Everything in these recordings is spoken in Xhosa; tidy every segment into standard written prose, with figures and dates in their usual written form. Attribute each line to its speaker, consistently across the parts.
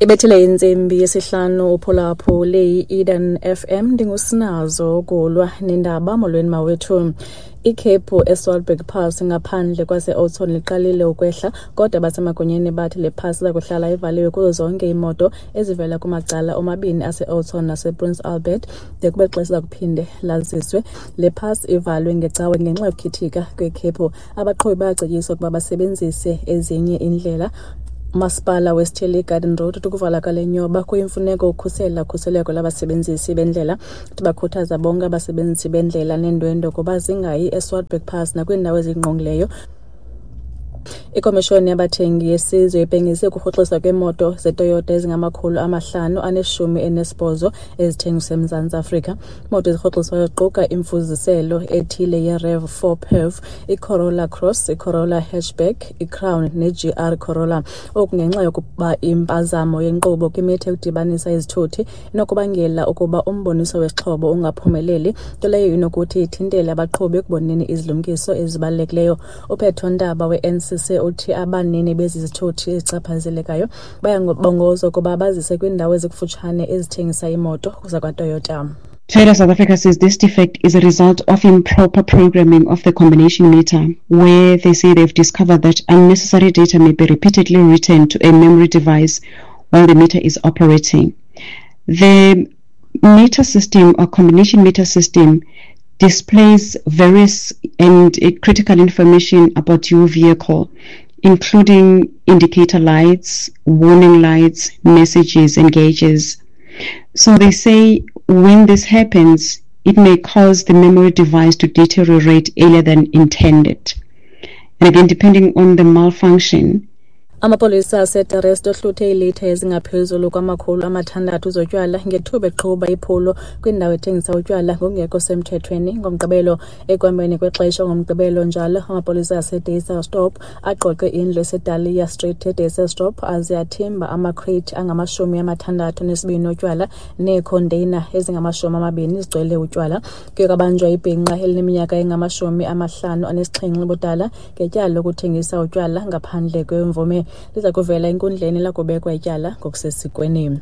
Speaker 1: Ibethile intsimbi yesihlanu uphulaphule i-Eden FM. Ndingusinazo ukulwa nendaba. Molweni mawethu. Ikhephu eSwartberg Pass ngaphandle kwase-Oudtshoorn liqalile ukwehla, kodwa abasemagunyeni bathi le pass iza kuhlala ivaliwe kuzo zonke iimoto ezivela kumacala omabini ase-Oudtshoorn nasePrince Albert de kube xesha iza kuphinde laziswe. Le pass ivalwe ngeCawe ngenxa yokukhithika kwekhephu. Abaqhubi bayacetyiswa ukuba basebenzise ezinye iindlela. Umasipala wesithili iGarden Road uthi ukuvala kwale nyoba kuyimfuneko ukhusela ukhuseleko lwabasebenzisi bendlela. Uthi bakhuthaza bonke abasebenzisi bendlela neendwendwe ukuba zingayi eSwartberg Pass nakwiindawo ezingqongileyo. Ikomishoni yabathengi yesizwe ibhengeze ukurhoxiswa kweemoto zeToyota ezingama-518 ezithengiswa eMzantsi Afrika. Iimoto ezirhoxiswayo ziquka imifuziselo ethile yeRAV4 PHEV, iCorolla Cross, iCorolla Hatchback, iCrown neGR Corolla. Oku ngenxa yokuba impazamo yenkqubo kwimitha yokudibanisa izithuthi inokubangela ukuba umboniso wesixhobo ungaphumeleli, nto leyo inokuthi ithintele abaqhubi ekuboneni izilumkiso ezibalulekileyo. UPetro Ntaba we-NCC uthi abanini bezi zithuthi ezichaphazelekayo bayabongozwa ukuba bazise kwiindawo ezikufutshane ezithengisa iimoto zakwaToyota.
Speaker 2: Toyota South Africa says this defect is a result of improper programming of the combination meter, where they say they've discovered that unnecessary data may be repeatedly written to a memory device while the meter is operating. The meter system or combination meter system displays various and critical information about your vehicle, including indicator lights, warning lights, messages, and gauges. So they say when this happens, it may cause the memory device to deteriorate earlier than intended. And again, depending on the malfunction,
Speaker 1: Amapolisa aseDe Rust ohluthe iilitha ezingaphezulu kwama-600 zotywala ngethuba eqhuba iphulo kwindawo ethengisa utywala ngokungekho semthethweni ngoMgqibelo. Ekuhambeni kwexesha ngoMgqibelo njalo, amapolisa aseDysselsdorp agqogqe indlu eseDahlia Street eDysselsdorp aze athimba amakhreyithi angama-62 otywala neekhonteyina ezingama-20 zigcwele utywala. Kuye kwabanjwa ibhinqa elineminyaka engama-57 ubudala ngetyala lokuthengisa utywala ngaphandle kwemvume. Liza kuvela enkundleni lakubekwa ityala ngokusesikweni.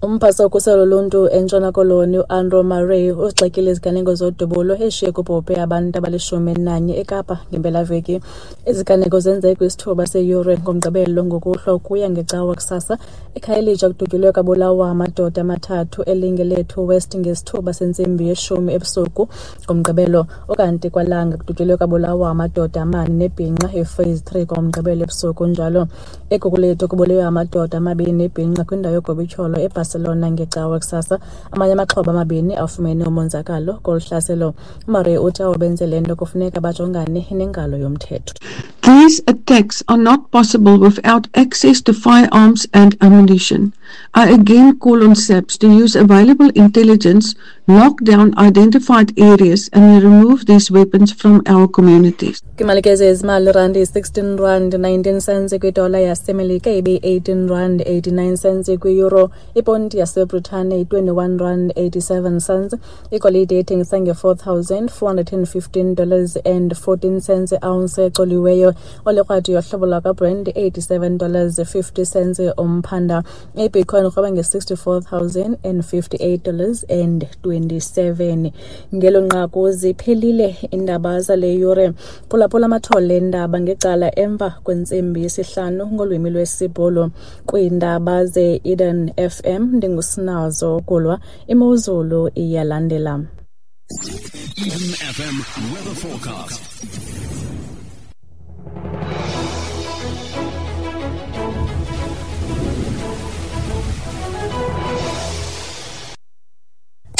Speaker 1: Umphathiswa wokhuselo loluntu eNtshona Koloni uAndrew Murray uzigxekile iziganeko zodubulo ezishiye kubhubhe abantu abali-11 eKapa ngempelaveki. Iziganeko zenzeke kwisithuba seyure ngoMgqibelo ngokuhlwa ukuya ngeCawa kusasa. EKhayelitsha kudutyulwe kwabulawa amadoda amathathu eLingelethu West ngesithuba sentsimbi yeshumi ebusuku ngoMgqibelo. Ukanti kwaLanga kudutyulwe kwabulawa amadoda amane nebhinqa ePhase 3 ngoMgqibelo ebusuku njalo. EGugulethu kubulewe amadoda amabini nebhinqa kwindawo yogobityholo eBarcelona ngeCawa kusasa. Amanye amaxhoba amabini afumene umonzakalo kolu hlaselo. UMurray uthi abo benze le nto kufuneka bajongane nengalo yomthetho.
Speaker 3: These attacks are not possible without access to firearms and ammunition. I again call on SAPS to use available intelligence, lock down identified areas and remove these weapons from our communities.
Speaker 1: Kwimalike zezimali, irandi yi-16 rand 19 cents kwidola yaseMelika, ibe-18 rand 89 cents kwi-euro. Iponti yaseBritane yi-21 rand 87 cents. Igolide ithengisa nge-$4,415 dollars and 14 cents ounce ecoliweyo. Olikrwada yohlobo lwakwaBrent $87 dollars 50 cents umphanda. IBitcoin irhweba nge-$64,058 dollars and 27. Ngelo nqaku ziphelile iindaba zale yure. Phulaphula amathole eendaba ngecala emva kwentsimbi yesihlanu ngolwimi lwesiBhulu. Kwiindaba ze-Eden FM ndinguSinazo Kulwa. Imozulu iyalandela.
Speaker 4: Eden FM weather forecast.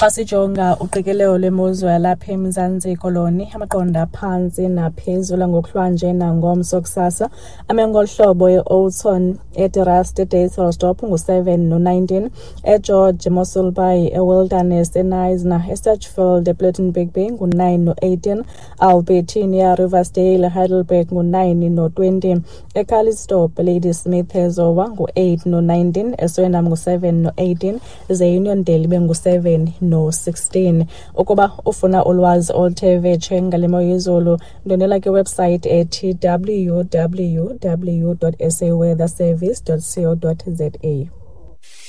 Speaker 1: Xa sijonga uqikelelo lwemozulu yalapha eMzantsi Koloni, amaqondo aphantsi naphezulu ngokuhlwanje nangomso kusasa ame ngolu hlobo: eOudtshoorn, eDe Rust, eDysselsdorp ngu-7 no-19, eGeorge, eMossel Bay, eWilderness, eKnysna, eSedgefield, ePlettenberg Bay ngu-9 no-18, Albertinia, Riversdale, Heidelberg ngu-9 no-20, eCalitzdorp, Ladysmith, eZowa ngu-8 no-19, eSwellendam ngu-7 no-18, ze Uniondale ibe ngu-7. no-16. Ukuba ufuna ulwazi oluthe vetshe ngale mo yezulu, ndwendwela kwiwebsayithi ethi www.saweatherservice.co.za.